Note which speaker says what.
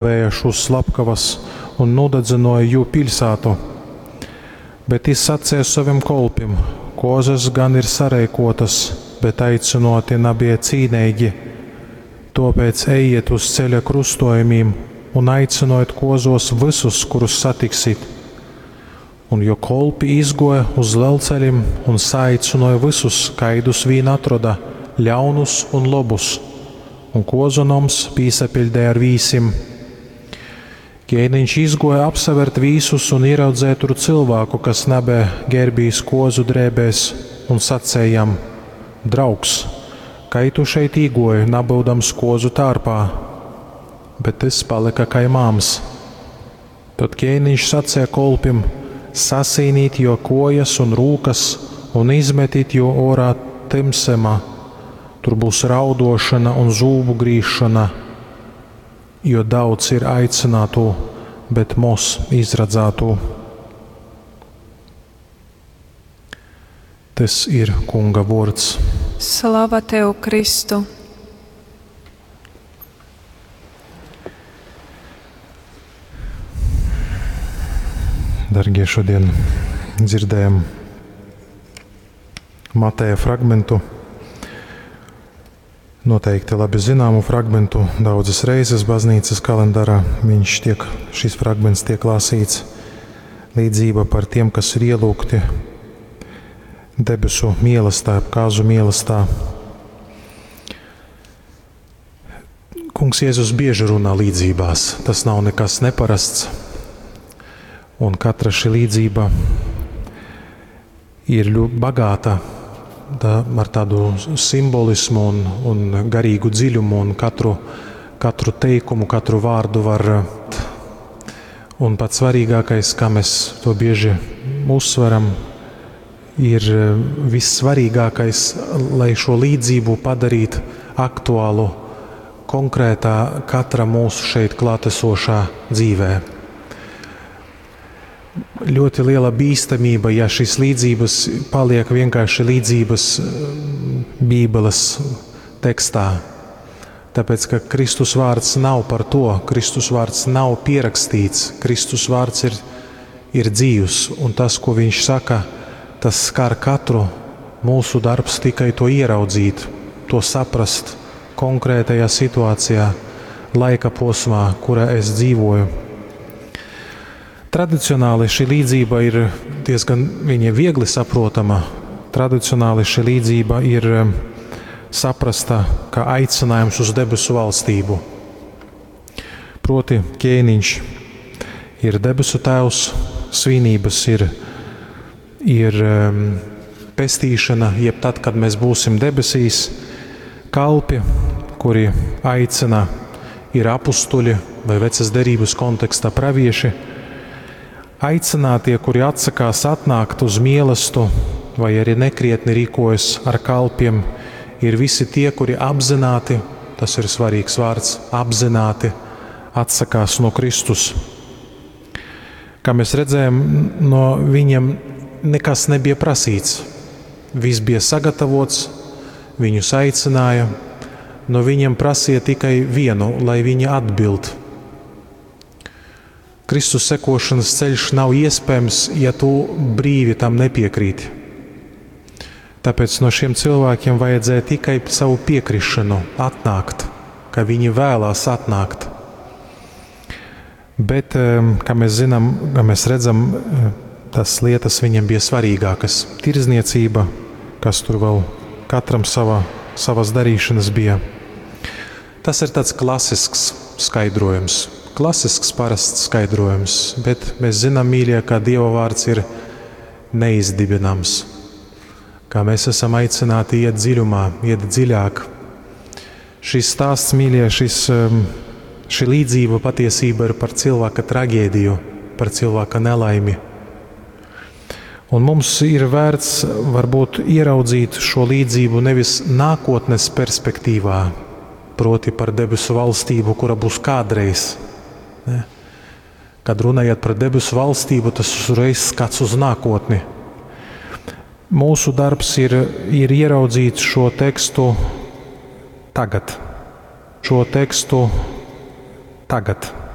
Speaker 1: Nūnōvēja šūs slapkavas un nūdadzynōja jū piļsātu. Bet jys saceja sovim kolpim, Kōzas gan ir sareikōtas, bet aicynōti nabeja cīneigi. Tōpēc ejiet uz ceļa krustōjumim un aicynojit kōzōs vysus, kurus satiksit. Un jō kolpi izgōja uz lelcelim un saaicynōja vysus, kaidus vīn atroda, ļaunus un lobus. Un kōzu noms pīsapiļdeja ar vīsim. Kēniņš izgōja apsavērt vīsus un ieraudzeja tur cylvāku, kas nabeja gērbīs kōzu drēbēs, un saceja jam: Draugs, kai tu šeit īgōji, nabyudams kōzu tārpā? Bet tys palyka kai māms. Tod kēniņš saceja kolpim: Sasīnīt jō kōjas un rūkas un izmetit jū ōrā tymsumā. Tur būs raudōšona un zūbu grīzšona, jo daudz ir aicinātū, bet moz izradzātū. Tys ir Kunga vōrds.
Speaker 2: Slava Tev, Kristu!
Speaker 1: Dargie, šodien dzirdējam Mateja fragmentu, noteikti labi zināmu fragmentu. Daudzas reizes baznīcas kalendārā šis fragments tiek lasīts. Līdzība par tiem, kas ir ielūgti debesu mīlestā, kāzu mīlestā. Kungs Jēzus bieži runā līdzībās. Tas nav nekas neparasts. Un katra šī līdzība ir ļoti bagāta tā, ar tādu simbolismu un garīgu dziļumu, un katru teikumu, katru vārdu var. Un pats svarīgākais, kā mēs to bieži uzsveram, ir vissvarīgākais, lai šo līdzību padarītu aktuālu konkrētā katra mūsu šeit klātesošā dzīvē. Ļoti liela bīstamība, ja šīs līdzības paliek vienkārši līdzības Bībeles tekstā. Tāpēc, ka Kristus vārds nav par to, Kristus vārds nav pierakstīts, Kristus vārds ir dzīvs, un tas, ko viņš saka, tas skar katru. Mūsu darbs tikai to ieraudzīt, to saprast konkrētajā situācijā, laika posmā, kurā es dzīvoju. Tradicionāli šī līdzība ir diezgan viņa viegli saprotama. Tradicionāli šī līdzība ir saprasta kā aicinājums uz debesu valstību. Proti, ķēniņš ir debesu tēvs, svinības ir pestīšana, jeb tad, kad mēs būsim debesīs, kalpi, kuri aicina, ir apustuļi vai vecas derības kontekstā pravieši. Aicinātie, kuri atsakās atnākt uz mielastu vai arī nekrietni rīkojas ar kalpiem, ir visi tie, kuri apzināti, tas ir svarīgs vārds, apzināti atsakās no Kristus. Kā mēs redzējām, no viņiem nekas nebija prasīts. Viss bija sagatavots, viņus aicināja, no viņiem prasīja tikai vienu, lai viņi atbild. Kristus sekošanas ceļš nav iespējams, ja tu brīvi tam nepiekrīti. Tāpēc no šiem cilvēkiem vajadzēja tikai savu piekrišanu atnākt, ka viņi vēlās atnākt. Bet, kā mēs zinām, kā mēs redzam, tas lietas viņiem bija svarīgākas. Tirzniecība, kas tur vēl katram savas darīšanas bija. Tas ir tāds klasisks skaidrojums. Klasisks, parasts skaidrojums, bet mēs zinām, mīļie, ka Dieva vārds ir neizdibināms. Kā mēs esam aicināti iet dziļumā, iet dziļāk. Šis stāsts, mīļie, šī līdzība patiesība ir par cilvēka traģēdiju, par cilvēka nelaimi. Un mums ir vērts varbūt ieraudzīt šo līdzību nevis nākotnes perspektīvā, proti par debesu valstību, kura būs kādreiz. Ne? Kad runājat par debesu valstību, tas uzreiz skats uz nākotni. Mūsu darbs ir ieraudzīt šo tekstu tagad. Šo tekstu tagad.